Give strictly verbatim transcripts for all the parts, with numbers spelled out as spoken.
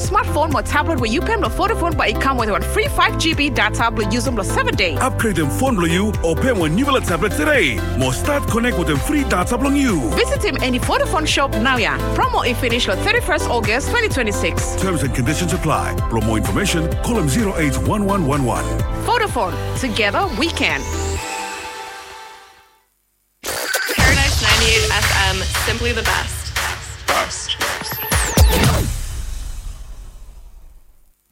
Smartphone mo tablet we yu pem lo Vodafone bae i kam wetem wan fri five G B data blo yusum lo seven day. Upgradem fon blo yu o pem wan niufala tablet tede mo stat konek wetem fri data blong yu. Visitim eni Vodafone shop naoia. Promo i finish lo thirty-first August twenty twenty-six. Terms and conditions apply. Blo moa infomesen, kolem zero eight one one one one. Vodafone, together we can. Paradise ninety-eight F M, simply the best. Best.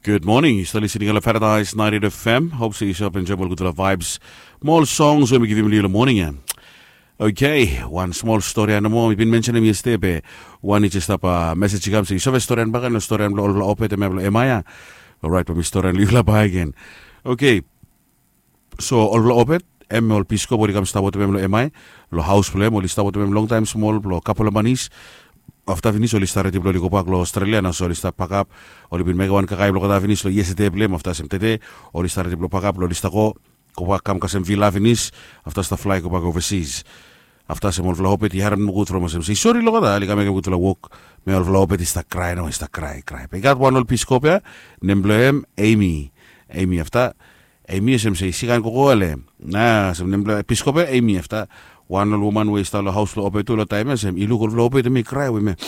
Gud moning, yu stap listening lo Paradise ninety-eight F M. Hop se yu stap enjoem ol gudfala vibes mo ol songs we mi givim long yu long moning ya. Oke, wan smol stori ya nomo mi bin mensenem yestede be wan i jes stap mesej i kam se yu save storian bak gen lo storian blong olfala opet hemia blong Emaia. Orait bae mi storian long yufala bakegen. Oke, so olfala opet, hem ol piskop oli kam stap wetem hem long Emai, long haos blong hem oli stap wetem hem longtaem smol blong kapel a manis. Afta finis oli stap redi blong oli gobak long Australia, na so oli stap pakap. Oli bin mekem wan kakae blong olgeta finis long yestede blong hem, afta olsem tede oli stap redi blong pakap blong oli stap go, gobak kam kasem vila finis. Afta stap flae gobak ovasis. Afta olsem olfala opet i harem nogud from olsem se i sori long olgeta oli kam mekem gudfala wok. Me olfala opet i stap krae nao, i stap krae, krae be i gat wan ol piskop ya, nem blong hem Emi. Emi afta Emi olsem se i sikan gogo ale. Na olsem nem blong piskop ya Emi. Afta wan ol woman we i stap long haos blong opet tu long taem ya olsem i luk olfala opet hemia i krae we hemia.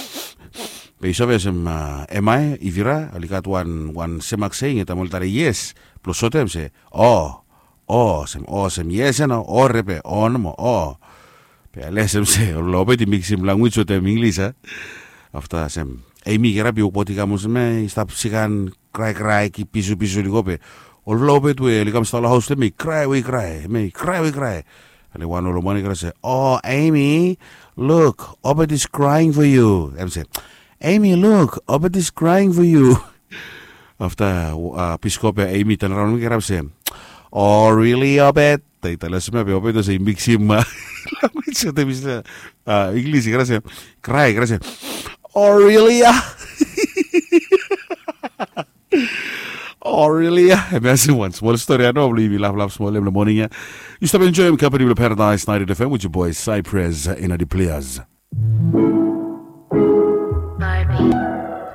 Be i save olsem Emaia, Ivira, oli gat wan, wan semak seing ya taem oli talem yes blong sotem se o, o olsem, o olsem yes ya nao, o repe, o nomo, o. Be ale olsem se olfala opet i miksim lanwis wetem Inglis a. Afta olsem Emi i kirap i wokbaot i kam olsem ya i stap sikan kraekrae, kip pisupisu oli go be olfala opet we oli kam stap long haos blong hem i krae we i krae, hemia i krae we i krae. Ale wan ol woman i kirap se, o Emi, luk, opet is crying for you. Hem se, Emi, luk, opet is crying for you. Afta piskop ya Emi i tanaraon i kirap se, o rili opet? I talem olsem ya be opet olsem i miksim lanwis wetem Inglis, i kirap se, krae, i kirap se, o rili ya? O rili ya? Hemia olsem wan smol stori ya nao blong yumi laflaf smol long moning ya. Yu stap enjoem kampani blong Paradise ninety-eight F M with your boy Cypress in the place.